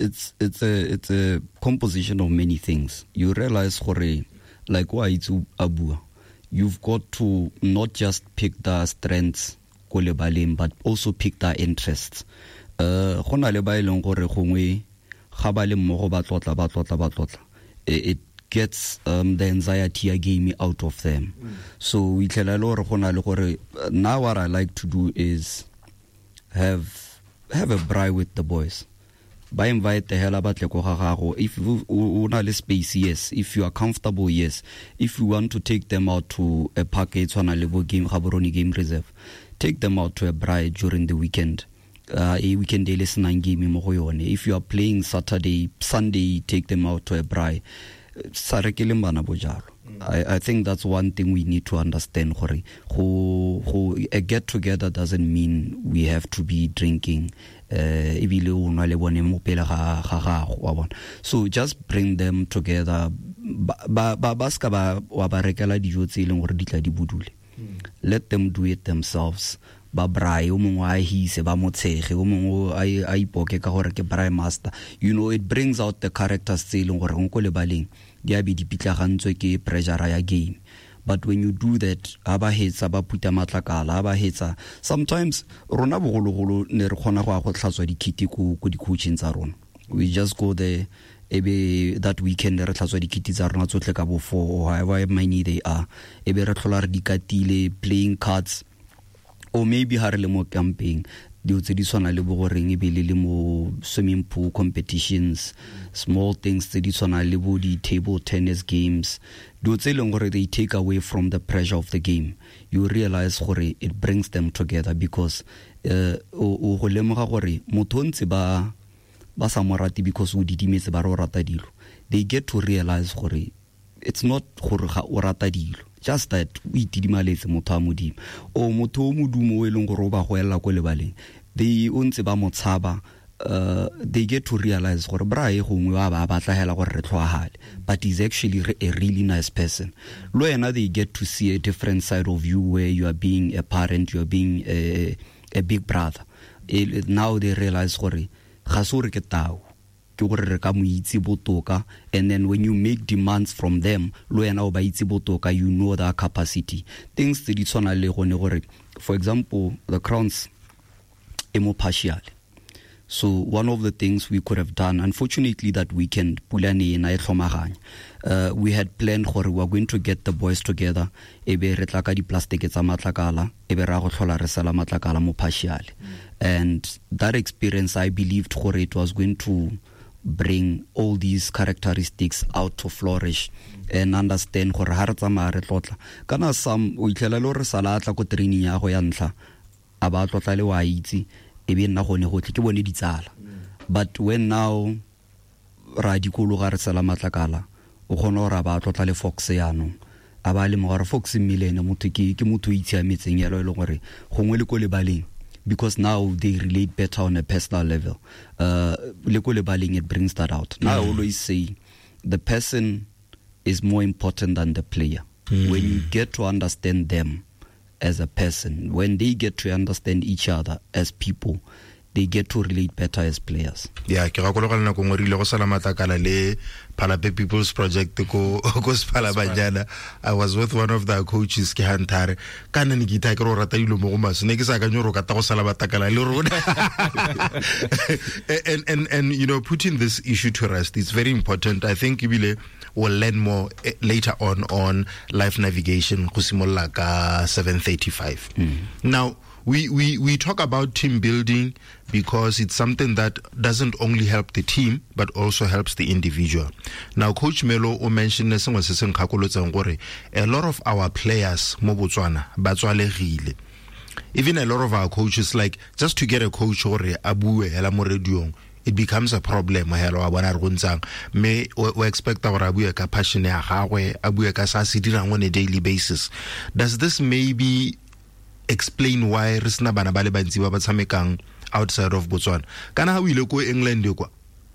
It's a composition of many things. You realize gore, like wa itse a bua, you've got to not just pick the strengths ko lebaleng, but also pick their interests. Go na le ba e leng gore gongwe ga ba le mmogo ba tlotla, ba tlotla, ba tlotla, it gets the anxiety ya game out of them. So o itlhela e le gore go na le gore, now what I like to do is have a braai with the boys. Ba invite hela, ba tle ko ga gago. If o na le space, yes. If you are comfortable, yes. If you want to take them out to a park e tshwana le bo game Gaborone Game Reserve, take them out to a braai during the weekend, a weekend e le senang game mo go yone. If you are playing Saturday, Sunday, take them out to a braai. Sa rekeleng bana bojalo. I think that's one thing we need to understand, gore go a get together doesn't mean we have to be drinking, ebile o nwa le bone mo pele ga gago wa bona. So just bring them together. Ba ska ba wa ba rekela dijo tse e leng gore di tla di budule. Let them do it themselves. Ba braai, o mongwe a hise, ba motshege, o mongwe a ipoke ka gore ke braai master. It brings out the characters tse e leng gore ko lebaleng di a be di pitlagantswe ke pressure ya game. But when you do that, ha ba hetsa ba phuta matlakala, ha ba hetsa, sometimes rona bogologolo ne re kgona go ya go tlhatswa dikiti ko di-coaching tsa rona. We just go there, ebe that weekend re tlhatswa dikiti tsa rona tsotlhe ka bo four or however many they are, ebe re tlhola re di katile, playing cards, or maybe ha re le mo camping, dilo tse di tshwana le bo goreng e be le le mo swimming pool competitions, small things tse di tshwana le bo di-table tennis games, dilo tse e leng gore they take away from the pressure of the game. You realize gore it brings them together because o go lemoga gore motho o ntse ba sa mo rate because o didimetse, ba re o rata dilo. They get to realize gore it's not gore ga o rata dilo, just that o itidimaletse motho a Modimo, o motho o modumo o e leng gore o ba goelela ko lebaleng, they o ntse ba mo tshaba. They get to realize gore bra e gongwe wa ba batla hela gore re tlhoagale, but he's actually a really nice person. Le wena, they get to see a different side of you where you are being a parent, you are being a big brother. Now they realize gore ga se gore ke tau, ke gore re ka mo itse botoka. And then when you make demands from them, le wena o ba itse botoka, you know their capacity. Things tse di tshwana le gone gore, for example, the Crowns e mo partial. So one of the things we could have done, unfortunately that weekend pula ne ena e tlhomaganya. We had planned gore we are going to get the boys together, e be re tla ka di-plastic tsa matlakala, e be ra go tlhola re sela matlakala mo partial. And that experience, I believed gore it was going to bring all these characteristics out to flourish and understand gore ha re tsamaya re tlotla kana some o itlhela le gore sala a tla ko training ya go ya ntlha, a ba tlotla le wa itse, e be nna gone gotlhe ke bone ditsala. But when now ra dikologa re sela matlakala, o kgona gore a ba tlotla le Fox yaanong, a ba lemoga gore Fox mme le ene motho ke motho o itshiametseng yalo, e leng gore gongwe le ko lebaleng, because now they relate better on a personal level, le ko lebaleng it brings that out. Now I always say the person is more important than the player. When you get to understand them as a person, when they get to understand each other as people, they get to relate better as players. Yeah, ke gakologela nako nngwe re ile go sala matlakala le Phalape People's Project ko Sephalabajana. I was with one of the coaches, ke Huntare ka nne ne ke itha ke re o rata dilo mo go maswe, ne ke sa akanye gore o kata go sala matlakala le rona. And putting this issue to rest is very important. I think ebile we'll learn more later on life navigation go simolola ka 7:35. Now we talk about team building because it's something that doesn't only help the team but also helps the individual. Now Coach Melo o mentioned sengwe se se nkgakolotseng gore a lot of our players mo Botswana ba tswalegile. Even a lot of our coaches, like just to get a coach gore a bue hela mo radiong, it becomes a problem hela wa bona re go ntsang, mme o expecta gore a bue ka passion ya gagwe, a bue ka sa se dirang on a daily basis. Does this maybe explain why re sena bana ba le bantsi ba ba tshamekang outside of Botswana? Kana ha o ile ko England kwa,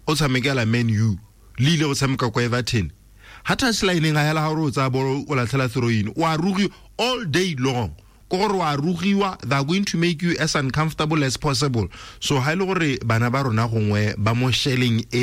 o tshamekela Man U, le ile go tshameka ko Everton, ha touchlineng a hela, ha o re o tsaya bolo o latlhela throw in, o a rugi all day long. Ko gore wa rugiwa, they are going to make you as uncomfortable as possible. So ha ile gore bana ba rona gongwe ba mo shelling e.